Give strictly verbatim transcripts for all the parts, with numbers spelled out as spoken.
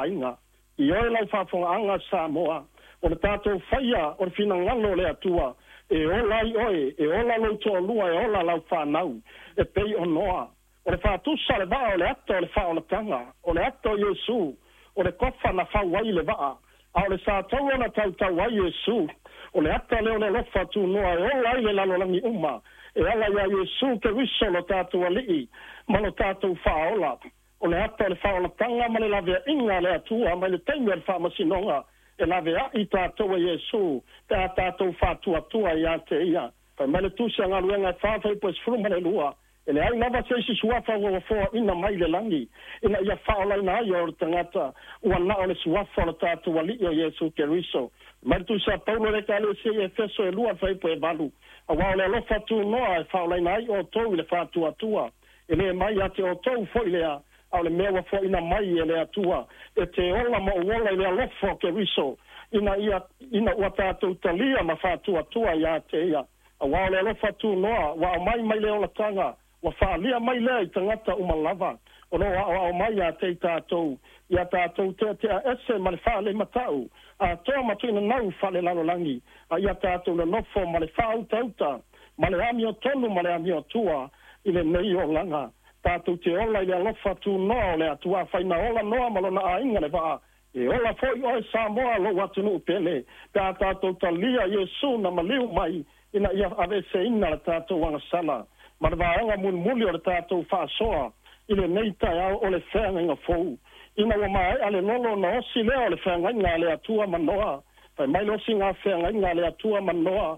aiga. I oe lau faafogaaga Samoa, o le tatou faia o le finagalo o le Atua e ola ai oe, e ola lou toalua, e ola lau fanau, e pei o Noa. O le faatusa le vaa o le ata o le faaolataga, o le ata o Iesu, o le kofa na fau ai le vaa, a o le sataua na tautau ai Iesu. O le ata lea o le alofa tunoa e ola ai le lalolagi uma, e ala iā Iesu Keriso lo tatou Alii ma lo tatou Faaola. O le ata o le faaolataga ma le laveaiga a le Atua mai le taimi o le faamasinoga, e laveai tatou e Iesu pe a tatou faatuatua ia te ia. Fai mai le Tusi a Galuega e fa fuaiupu e sefulu ma le lua, e leai lava se isi suafa ua foaina mai le lagi ina ia faaolaina ai o le tagata, ua na o le suafa o le tatou Alii o Iesu Keriso. Mai le Tusi a Paulo le Ekalesia i Efeso e lua fuaiupu e valu, auā o le alofa tunoa e faaolaina ai outou i le faatuatua, e lē mai ia te outou foi lea, a o le mea ua foaina mai e le Atua e te ola ma ou ola i le alofa o Keriso, ina ia ina ua tatou talia ma faatuatua iā te ia. Auā o le alofa tunoa ua aumai mai le olataga, ua faaalia mai lea i tagata uma lava, o loo aoao mai iā te i tatou, ia tatou teatea ese ma le faalemata'u atoa ma tuinanau faalelalolagi, a ia tatou nonofo ma le faautauta ma le amiotonu ma le amiotua i lenei olaga. Tatou te ola i le alofa tunoa o le Atua. Afai na ola Noa ma lona aiga le vaa, e ola foi oe Samoa, lou atunuu pele, pe a tatou talia Iesu na maliu mai ina ia aveeseina le tatou agasala. Ma le vaega mulimuli o le tatou faasoa i lenei taeao, o le feagaiga fou. Ina ua maea le lolo na osi lea o le feagaiga a le Atua ma Noa. Fai mai le osiga feagaiga a le Atua ma Noa,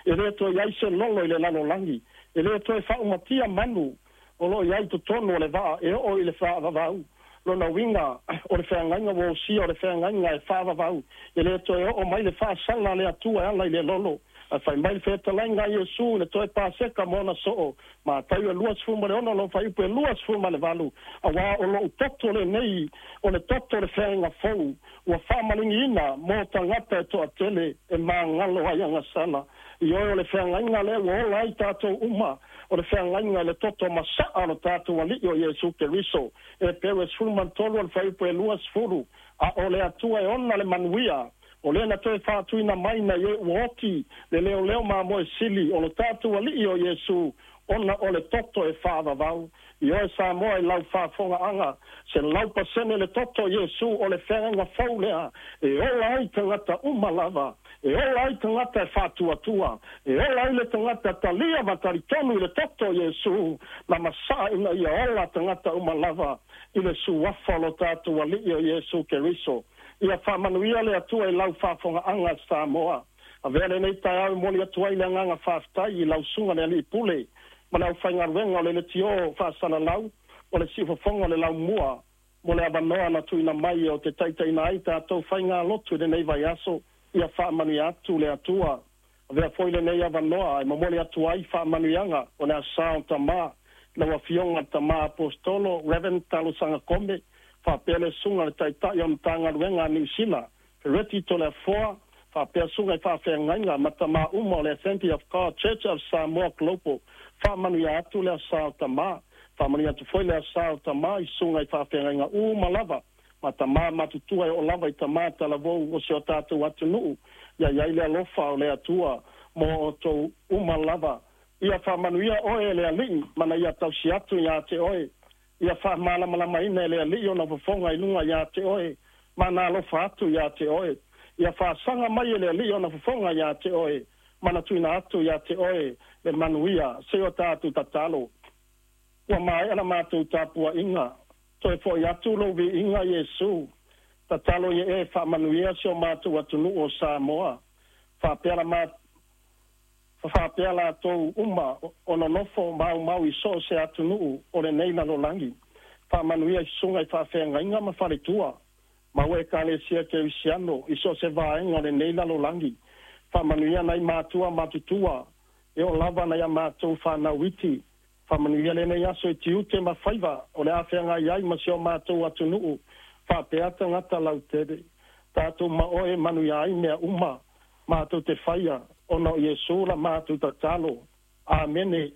e lē toe iai se lolo i le lalolagi, e lē toe faaumatia manu o loo iai totonu o le vaa e oo i le faavavau. Lona uiga o le feagaiga ua osia, o le feagaiga e faavavau, e lē toe oo mai le faasala a le Atua e ala i le lolo. Ae fai mai le fetalaiga a Iesu i le toe Paseka mo ona soo, Mataio e luasefulu ma le ono lona fuaiupu e luasefulu ma le valu, auā o lo'u toto lenei, o le toto o le feagaiga fou, ua faamaligiina mo tagata e toatele e magalo ai agasala. Ioe, o le feagaiga lea ua ola ai tatou uma, o le feagaiga i le toto masaa o lo tatou Alii o Iesu Keriso. Epeu e sefulu ma le tolu o le fuaiupu e luasefulu, a o le Atua e ona le manuia, o lea na toe faatuina mai na ie ua oti le leoleo mamoe sili o lo tatou Alii o Iesu, ona o le toto e faavavau. Ioe Samoa i lau faafogaaga, se lau pasene le toto Iesu o le feagaiga fou lea e ola ai tagata uma lava, e ola ai tagata e faatuatua, e ola ai le tagata talia ma talitonu i le toto Iesu na masaa ina ia ola tagata uma lava i le suafa o lo tatou Alii o Iesu Keriso. Ia faamanuia le Atua i lau faafogaaga Samoa. Avea lenei taeao e momoli atu ai le agaga faafetai i lau susuga le alii pule ma le aufaigaluega o le leitio faasalalau o le siufofoga o le Laumua mo le avanoa na tuuina mai o te taitaiina ai tatou faigalotu i lenei vaiaso. Ia faamanuia atu le Atua. Avea foi lenei avanoa e momoli atu ai faamanuiaga o le Asa o Tamā lau afioga Tamā Aposetolo Reverend Talosaga Kome, faapea le susuga le Taitai o Matagaluega a Niusila Fereti Toleafoa, faapea susuga i faafeagaiga ma tamā uma o le Assembly of God Church of Samoa Global. Faamanuia atu le Asa o Tamā. Faamanuia atu foi le Asa o Tamā i susuga i faafeagaiga uma lava ma tamā matutua e oo lava i tamā talavou o si o tatou atunuu. Ia iai le alofa o le Atua mo outou uma lava. Ia faamanuia oe e le Alii mana ia tausi atu iā te oe. Ia faamalamalamaina e le Alii ona fofoga i luga iā te oe ma na alofa atu iā te oe. Ia faasaga mai e le Alii ona fofoga iā te oe ma na tuuina atu iā te oe le manuia. Se o tatou tatalo. Ua maea la matou tapuaʻiga, toe foʻi atu lou viiga Iesu. Tatalo ia e faamanuia si o matou atunuu o Samoa, faapea la ma faapea latou uma o nonofo maumau i so o se atunuu o lenei lalolagi. Faamanuia i susuga i faafeagaiga ma faletua ma ua Ekalesia Kerisiano i so o se vaega o lenei lalolagi. Faamanuia nai matua matutua e oo lava nai a matou fanau iti. Faamanuia lenei aso i tiute ma faiva o le a feagai ai ma si o matou atunuu faapea tagata lautele. Tatou ma oe manuia ai mea uma matou te faia, ona o Iesu la matou tatalo. Amene.